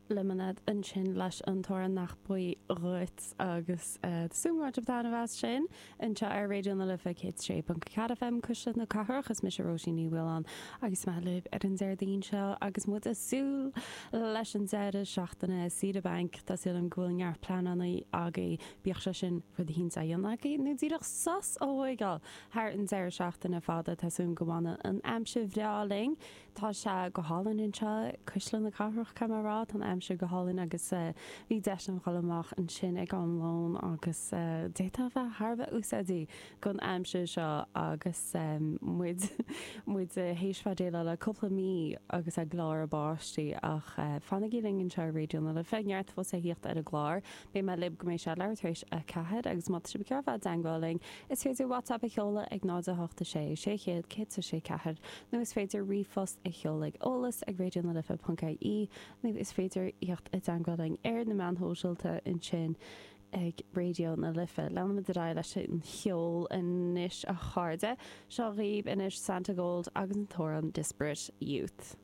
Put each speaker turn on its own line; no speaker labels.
Lemonade ansin leis an t-amhrán Nach Buí Dhuit agus tá súil agam go mbain sibh taitneamh as sin anseo ar Raidió na Life 106.4 FM Cuisle na Cathrach. Is mise Róisín Ní Mhaoláin agus mé libh ar an Déardaoin seo agus muid ag súil leis an deireadh seachtaine saoire bainc. Tá súil agam go bhfuil neart pleananna agaibh, bíodh sé sin rud eicínt á dhéanamh agaibh nó díreach sos a thóigeáil thar an deireadh seachtaine fada. Tá súil agam go bhfanann an aimsir bhreá linn. Tá sé go hálainn anseo, Cuisle na Cathrach, caithfidh mé a rá. Tá an aimsir go hálainn agus bhí deis agam dhul amach ansin ag am lóin agus d'fhéadfá a bheith thar a bheith úsáideach don aimsir seo agus muid muid théis bheith déileáil le cúpla mí agus ag glór báistí ach fanaigí linn anseo ar Raidió na Life, neart fós a thíocht ar an gclár. Beidh mé libh go mbeidh sé leathuair tar éis 4 agus má tá sibh ag iarraidh bheith i dteangmháil linn, is féidir WhatsApp a sheoladh ag 0 8 6 600 106 4 nó is féidir ríomhphost a sheoladh ag eolas ag raidionalife.ie nó is féidir theacht i dteangmháil linn ar na meáin shóisialta ansin ag Raidió na Life. Leanfaimid ar aghaidh leis an cheol anois a chairde. Seo dhaoibh anois Santigold agus an t-amhrán Disparate Youth.